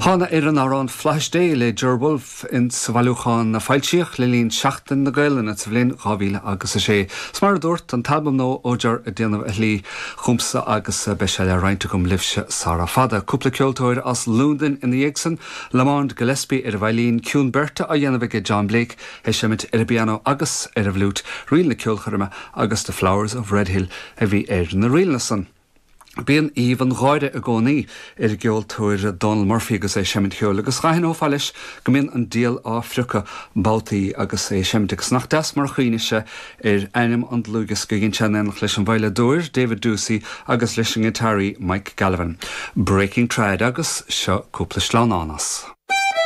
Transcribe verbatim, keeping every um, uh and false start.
Thána ar an amhrán Flaithis Dé le Ger Wolfe in sa bhailiúchán a foilsíodh le linn Seachtain na Gaelainne sa bhliain dhá mhíle agus a sé. 'S mar a dúirt an t-albam nua ó Ger ag déanamh a shlí chugamsa agus beidh sé le roinnt agam libhse sara fada. Cúpla ceoltóir as Londain ina dhiaidh san, Lamond Gillespie ar an veidhlín, ciúin beirte á dhéanamh aige John Blake, ag seimint ar an bpianó agus ar an bhfliúit, ríl na ceolchoirme agus The Flowers of Redhill a bhí ar na ríleanna san. Bíonn aoibh an gháire i gcónaí ar an gceoltóir Donal Murphy agus é ag seimint ceoil, agus d'aithneofá leis go mbíonn an diabhal á phriocadh babhtaí agus é ag seimint agus nach deas mar a chuimhnigh sé ar ainm an dlúthdhiosca a dhein sé in éineacht leis an veidhleadóir David Doocey agus leis an ngiotáraí Mike Gallivan. Breaking Trad agus seo cúpla sleamhnán as.